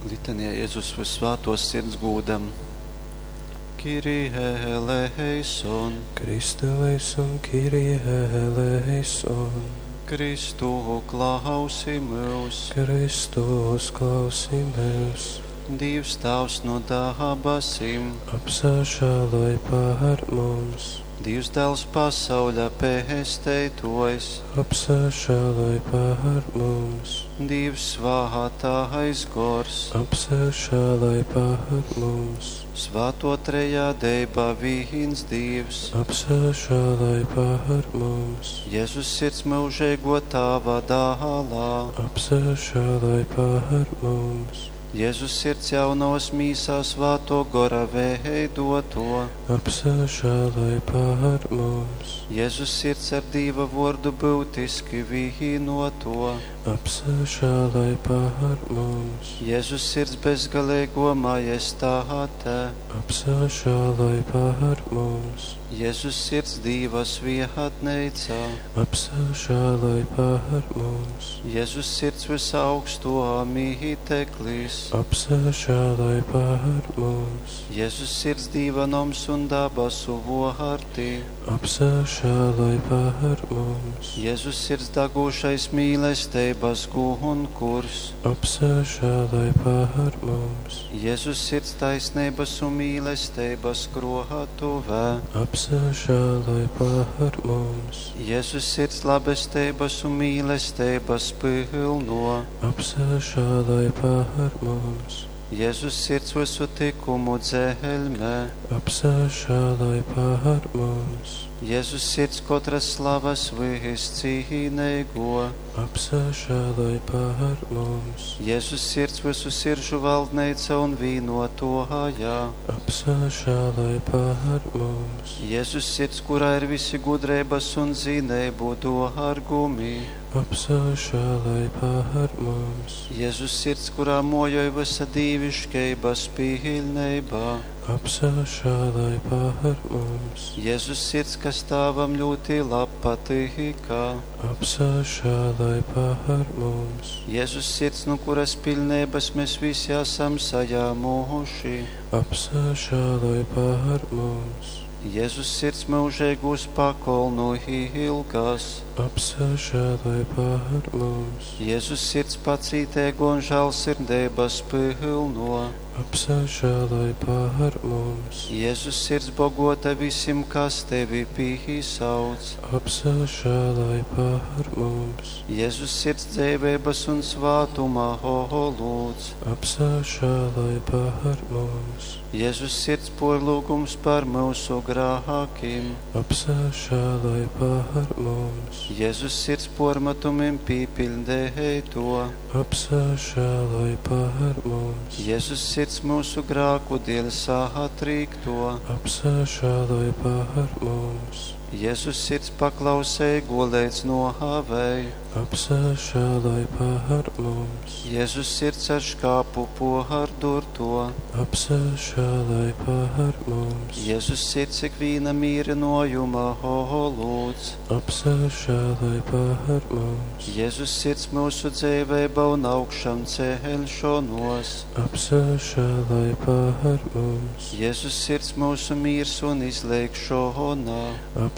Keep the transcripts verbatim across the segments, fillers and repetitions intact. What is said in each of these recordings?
Litanija Jezus Vyssvātōs Sirds gūdam. Kyrie eleison, Christe eleison, Kyrie eleison. Kristu klausi myus. Kristus klausi myus. Dīvs Tāvs no dabasim. Apsažāloj par mums. Dīvs Dāls pasauļa pesteitōjs. Apsažāloj par mums. Dīvs Svātais Gors. Apsažāloj par mums. Svāto trejadeiba vīns Dīvs. Apsažāloj par mums. Jezus Sirds myužeigō Tāva dālā. Apsažāloj par mums. Jezus Sirds jaunovas mīsā Svātō Gora veidoto. Apsažāloj par mums. Jezus Sirds ar Dīva vōrdu būtiski vīnoto. Apsažāloj par mums. Jezus Sirds bezgaleigō majestāte. Apsažāloj par mums. Jezus Sirds Dīva svietneica. Apsažāloj par mums. Jezus Sirds vysaugstō mīteklis. Apsažāloj par mums. Jezus Sirds Dīva noms un dabasu vōrti. Apsažāloj par mums. Jezus Sirds dagūšais mīlesteibas gunkurs. Apsažāloj par mums. Jezus Sirds taisneibas un mīlesteibas krōtuve. Apsažāloj par mums. Jezus Sirds labesteibas un mīlesteibas pylno. Apsažāloj par mums. Jezus Sirds visu tikumu dzeļme. Apsažāloj par mums. Jezus Sirds kotras slavas viscīneigo. Apsažāloj par mums. Jezus Sirds visu siržu valdneica un vīnotōja. Apsažāloj par mums. Jezus Sirds, kurā ir visi gudreibas un zineibu dōrgumi. Apsažāloj par mums. Jezus Sirds, kurā mojoj visa dīviškeibas piļneiba. Apsažāloj par mums. Jezus Sirds, kas Tāvam ļoti labpatīka. Apsažāloj par mums. Jezus Sirds, no kuras piļneibas mēs visi esam saņēmuši. Apsažāloj par mums. Jezus Sirds mūžīgūs pakolnu ilgas. Apsažāloj par mums. Jezus Sirds pacītēgo un žēlsirdības pilno. Apsažāloj par mums. Jezus Sirds bogota visim, kas tevi pīsauc. Apsažāloj par mums. Jezus Sirds dzīvības un svātuma holūds. Apsažāloj par mums. Jezus Sirds porlūgums par mūsu grākiem. Apsažāloj par mums. Jezus Sirds pormetumim pīpildēto. Apsažāloj par mums. Jezus Sirds mūsu grāku dēļ satrīkto. Apsažāloj par mums. Jezus Sirds paklausēgo līdz nohavei. Apsažāloj par mums. Jezus Sirds ar škāpu pohardurto. Apsažāloj par mums. Jezus Sirds ikvīna mīrinojuma holūds. Apsažāloj par mums. Jezus Sirds mūsu dzīvība un augšām ceļšanos. Apsažāloj par mums. Jezus Sirds mūsu miers un izlēkšana.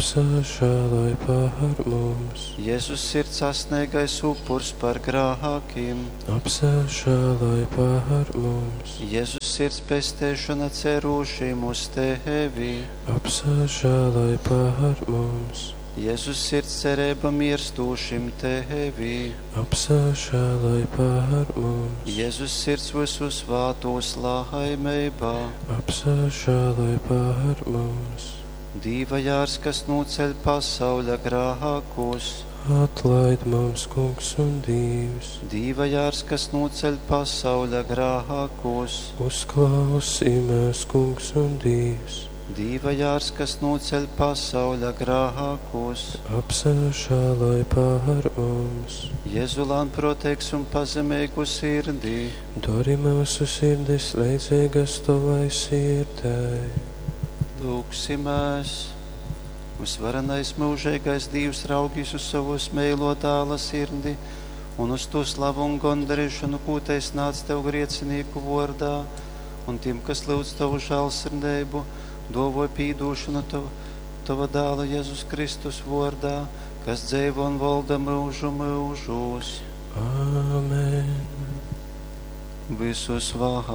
Apsažāloj par mums. Jezus Sirds asnīgais upurs par grākiem. Apsažāloj par mums. Jezus Sirds pestēšana cerūšiem uz tevi. Apsažāloj par mums. Jezus Sirds cerība mirstūšim tevi. Apsažāloj par mums. Jezus Sirds visu svātos laimībā. Apsažāloj par mums. Dīva jārs, kas noceļ pasauļa grākus. Atlaid mums, Kungs un Dievs. Dīva jārs, kas noceļ pasauļa grākus. Uzklausī mēs, Kungs un Dievs. Dīva jārs, kas noceļ pasauļa grākus. Apsažāloj par mums. Jēzu lānproteigs un pazemīgu sirdī. Dari mūsu sirdis leidzīgas tavai sirdei. Lūgsimies! Visvarenais mūžīgais Dievs raugīs uz savus meilo dāla sirdi un uz tū slavu un gondarīšanu, kū tai snādz Tev griecinīku vordā, un tiem, kas lūdz Tavu žēlsirdību, dovoj pīdūšanu Tava, Tava dāla Jēzus Kristus vordā, kas dzeivo un valda mūžu mūžos. Āmen. Visu svātāk.